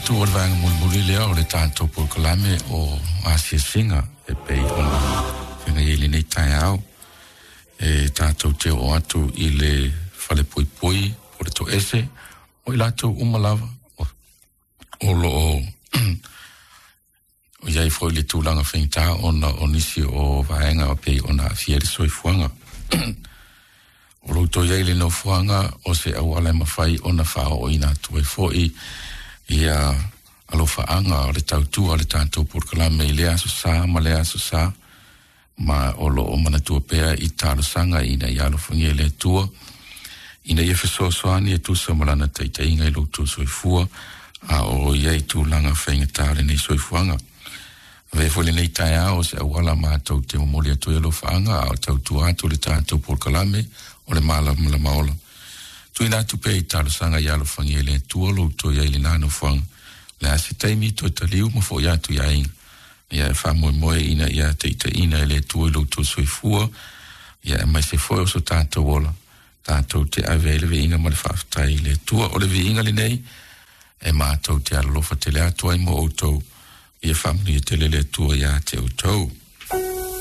manatu o le vaega mulimuli lea o le tatou polokalame o asiasiga e pei ona feagai ai i lenei taeao. E tatou te oo atu i le falepuipui o le toese o i latou uma lava o lo o i ai foi le tulaga faigata ona o nisi o vaega e pei ona aafia ai le soifuaga. O lo o toe i ai le nofoaga o se auala e mafai ona faaooina atu ai foi ia alofaaga o le tautua o le tatou polokalame i lea aso sa ma lea aso sa, ma o lo o manatua pea i talosaga ina ia alofagia e le Atua ina ia fesoasoani e tusa ma lana taitaiga i lo outou soifua a o i ai tulaga faigata o lenei soifuaga. Avea foi lenei taeao o se auala matou te momoli atu ai alofaaga a o tautua atu le tatou polokalame o le Malamalama Ola. Tuuina atu pea i talosaga ia alofagia e le Atua lo outou i ai i lena nofoaga. O le a se taimi toe taliu ma foi atu i aiga. Ia e faamoemoe ina ia taitaiina e le Atua i lo outou soifua, ia aemaise foi o so tatou ola, tatou te ave ai le viiga ma le faafetai i le Atua. O le viiga lenei e matou te alolofa tele atu ai mo outou, ia faamanuia tele le Atua ia te outou.